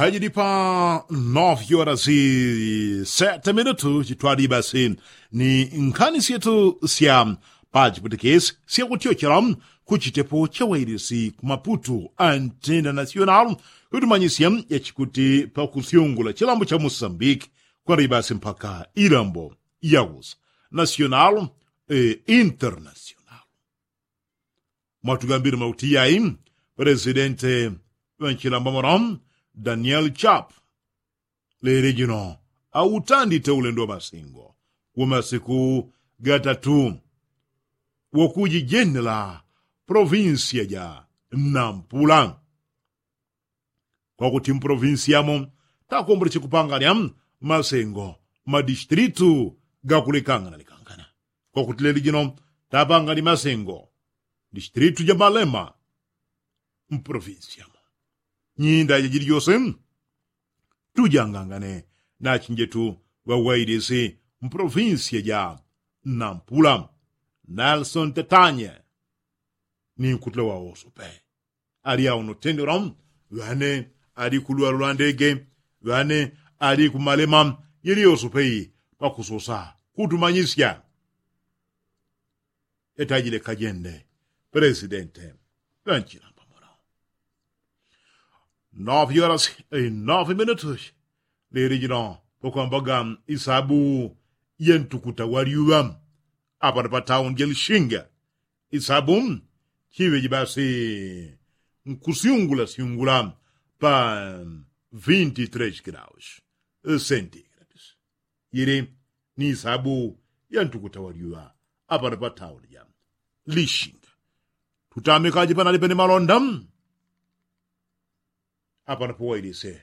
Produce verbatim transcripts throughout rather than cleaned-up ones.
Pajidi pa nove horas e sete minutu chitwadi basi ni nkhani syetu sya pachiputikisi syakutyochela kuchitepo cha wailisi ku maputu a international kutumanyisya yachikuti pakusyungula chilambo cha musambiki kwali basi mpaka ilambo yakusa national e international. Mwatugambile mauti yai presidente ŵa nchilambamano daniel chap lele jino autandite ulendo wa masengo wa masiku gatatu wakujijenela provinsia ja nampula. Kwakuti mprovinsi yamo takomboleche kupanganya masengo madistritu gakulekangana lekangana. Kwakuti leli jino tapangani masengo distritu ja malema mprovinsi yamo nyinda jajili jose. Tujangangane nachinjetu ŵawailisi mprovinsi ja nampula nelson tetanye ni nkutula wawoso pe. Ali auno tendero ŵane ali kulwalo lwa ndege ŵane ali kumalema yeliyoso pei pakusosa kutumanyisya. Etajile kajende presidente ŵanchilamba muno. Nove horas e nove minutos lili jino pakwambaga isabu ya ntukuta wa lyuŵa apano pa tauni ja lishinga. Isabu chiŵeji basi nkusyungula syungula pa vinti tres graus sentigrados. Yili ni isabu ya ntukuta wa lyuŵa apano pa tauni ja lishinga. Tutamikaji panali pene malonda apano powailise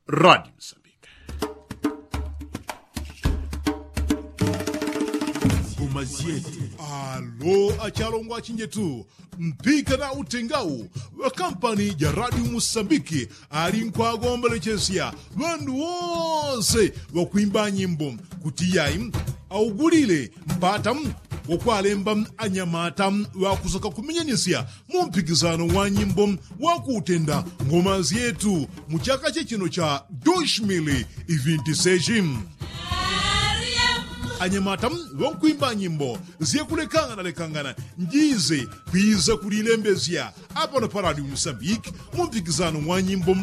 radio msambike. Ngoma zyetu. Alo achalongo achinjetu mpika na utengau ŵa kampani ja radio musambiki ali nkwagombelechesya ŵandu wose ŵakwimba nyimbo kuti yai augulile mpata wakwalemba anyamata ŵakusaka kumenyanisya mu mpikisano wa nyimbo wakutenda ngoma zyetu mu chaka chechino cha dos mil vinti seji. Anyamata ŵankwimba nyimbo zyakulekangana lekangana njize kwiza kulilembesya apano pa radio musambiki mu mpikisano wa nyimbo